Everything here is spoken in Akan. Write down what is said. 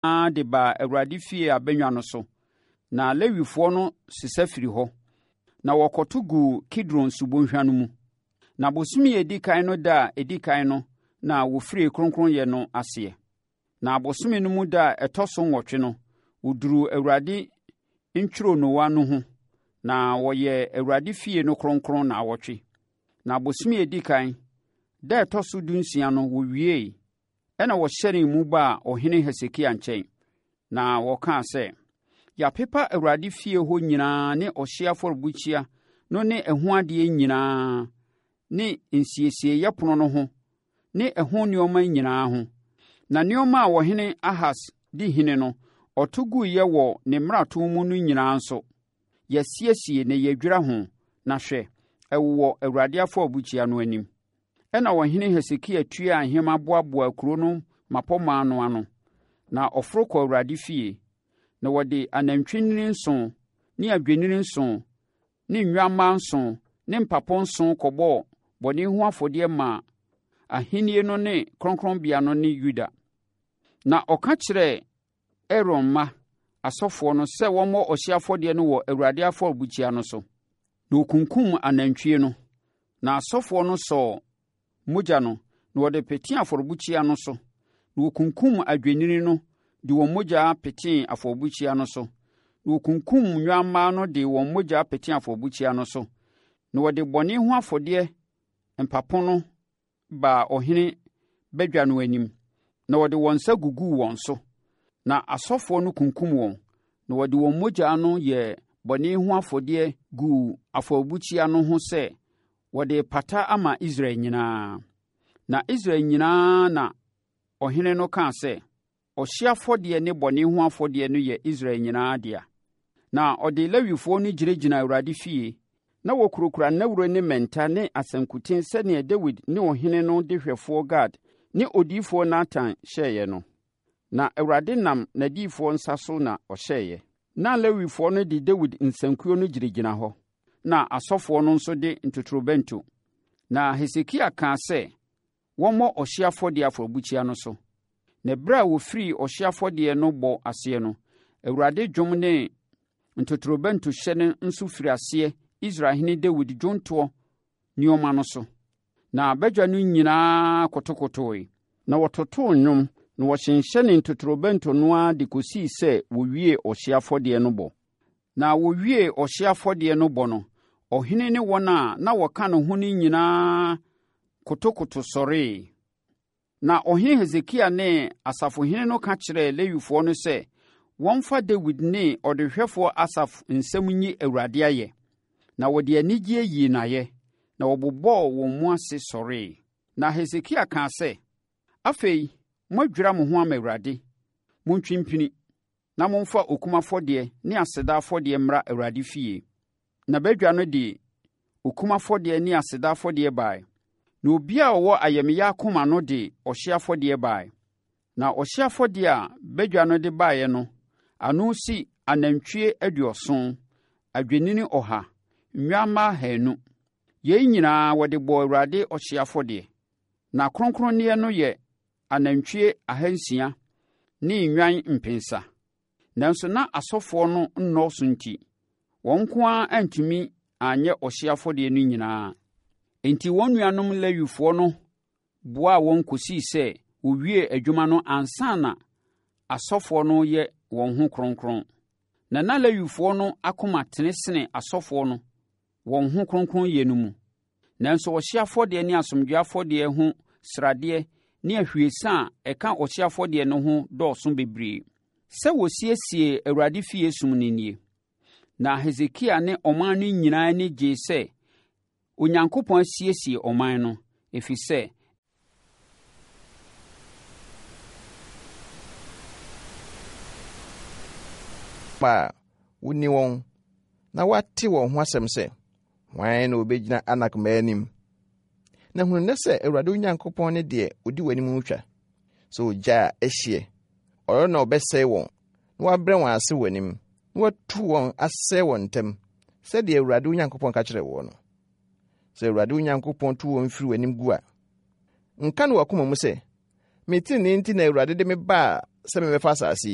nyinaa de baa Awurade fie abannwa no so, na Lewifoɔ no sesa firii hɔ, na wɔkɔto guu Kidron subɔnhwa no mu. Na bosome a ɛdi kan no da a ɛdi kan no na wɔfirii kronkronyɛ no aseɛ. Na bosome no mu da a ɛtɔ so nwɔtwe no, wɔduruu Awurade ntwironowa no ho, na wɔyɛɛ Awurade fie no kronkron nnawɔtwe. Na bosome a ɛdi kan, da a ɛtɔ so dunsia no, wɔwiee. Ɛnna wɔhyɛnee mu baa ɔhene Hesekia nkyɛn, na wɔkaa sɛ, Yɛapepa Awurade fie hɔ nyinaa ne ɔhyeɛ afɔrebukyia no ne ɛho adeɛ nyinaa ne nsiesieeɛ pono no ho ne ɛho nneɛma nyinaa ho. Na nneɛma a ɔhene Ahas di hene no, ɔto guiɛ wɔ ne mmarato mu no nyinaa nso, yɛasiesie na yɛadwira ho, na hwɛ, ɛwowɔ Awurade afɔrebukyia no anim. Ɛnna ɔhene Hesekia tuaa nhema boaboaa kuro no mmapɔmma no ano, na ɔforo kɔɔ Awurade fie. Na wɔde anantwinini nson ne adwennini nson ne nnwammaa nson ne mpapo nson kɔbɔɔ bɔne ho afɔdeɛ maa ahennie no ne kronkronbea no ne Yuda. Na ɔka kyerɛɛ Aaron mma, asɔfoɔ no, sɛ wɔmmɔ ɔhyeɛ afɔdeɛ no wɔ Awurade afɔrebukyia no so. Na wɔkunkumm anantwie no, na asɔfoɔ no sɔɔ mogya no, na wɔde petee afɔrebukyia no so. Na wɔkunkumm adwennini no de wɔn mogya petee afɔrebukyia no so. Na wɔkunkumm nnwammaa no de wɔn mogya petee afɔrebukyia no so. Na wɔde bɔne ho afɔdeɛ mpapo no baa ɔhene badwa no anim, na wɔde wɔn nsa guguu wɔn so. Na asɔfoɔ no kunkum wɔn, na wɔde wɔn mogya no yɛɛ bɔne ho afɔdeɛ guu afɔrebukyia no ho sɛ wɔde repata ama Israel nyinaa. Na Israel nyinaa na ɔhene no kaa sɛ, Ɔhyeɛ afɔdeɛ ne bɔne ho afɔdeɛ no yɛ Israel nyinaa dea. Na ɔde Lewifoɔ no gyinagyinaa Awurade fie, na wɔkurakura nnawuro ne mmɛnta ne asankuten sɛdeɛ Dawid ne ɔhene no dehwɛfoɔ Gad ne odiyifoɔ Natan hyɛeɛ no. Na Awurade nam n'adiyifoɔ nsa so na ɔhyɛeɛ. Na Lewifoɔ no de Dawid nsankuo no gyinagyina hɔ, na asɔfoɔ no nso de ntotorobɛnto. Na Hesekia kaa sɛ wɔmmɔ ɔhyeɛ afɔdeɛ afɔrebukyia no so. Na ɛberɛ a wɔfirii ɔhyeɛ afɔdeɛ no bɔ aseɛ no, Awurade dwom ne ntotorobɛntohyɛ no nso firii aseɛ Israelhene Dawid dwontoɔ nneɛma no so. Na badwa no nyinaa kotokotoe, na wɔtotoo nnwom, na wɔhyenhyɛnee ntotorobɛnto no ara de kɔsii sɛ wɔwiee ɔhyeɛ afɔdeɛ no bɔ. Na wɔwiee ɔhyeɛ afɔdeɛ no bɔ no, ɔhene ne wɔn a na wɔka ne ho no nyinaa kotokoto sɔree. Na ɔhene Hesekia ne asafohene no ka kyerɛɛ Lewifoɔ no sɛ wɔmfa Dawid ne ɔdehwɛfoɔ Asaf nsɛm nyi Awurade ayɛ. Na wɔde anigyeɛ yii no ayɛ, na wɔbobɔɔ wɔn mu ase sɔree. Na Hesekia kaa sɛ, Afei moadwira mo ho ama Awurade, montwe mpini. na momfa okum afɔdeɛ ne aseda afɔdeɛ mmra Awurade fie. Na badwa no de okum afɔdeɛ ne aseda afɔdeɛ baeɛ, na obiara a ɔwɔ ayamyɛ akoma no de ɔhyeɛ afɔdeɛ baeɛ. Na ɔhyeɛ afɔdeɛ a badwa no de baeɛ no ano si anantwie aduɔson, adwennini ɔha, nnwammaa ahanu. Yei nyinaa wɔde bɔɔ Awurade ɔhyeɛ afɔdeɛ. Na akronkronneɛ no yɛ anantwie ahansia ne nnwan mpensa. Nanso na asɔfoɔ no nnɔɔso nti, wɔn nko ara antumi anyɛ ɔhyeɛ afɔdeɛ no nyinaa. Enti wɔn nuanom Lewifoɔ no boaa wɔn kɔsii sɛ wɔwiee adwuma no ansa na asɔfoɔ no reyɛ wɔn ho kronkron. Na na Lewifoɔ no akoma tene sene asɔfoɔ no wɔn ho kronkronyɛ no mu. Nanso ɔhyeɛ afɔdeɛ ne asomdwoeɛ afɔdeɛ ho sradeɛ ne ahwiesa a ɛka ɔhyeɛ afɔdeɛ no ho dɔɔso bebree. Sɛ wɔsiesiee Awurade fie som no nie. Na Hesekia ne ɔman no nyinaa ani gyee sɛ Onyankopɔn asiesie ɔman no, ɛfiri sɛ, a wonni wɔn na wɔate wɔn ho asɛm sɛ, Hwan na obegyina Anak mma anim? Na hunu nnɛ sɛ Awurade wo Nyankopɔn ne deɛ odi w'anim retwa, sɛ ogya a ɛhyeɛ. Ɔno na ɔbɛsɛe wɔn, na wabrɛ wɔn ase w'anim, na watu wɔn asɛe wɔn ntam, sɛdeɛ Awurade wo Nyankopɔn ka kyerɛɛ woɔ no. Sɛ Awurade wo Nyankopɔn tu wɔn firi w'anim gu a, nka no w'akoma mu sɛ, Me tenenee nti na Awurade de me baa sɛ memmɛfa asase yi.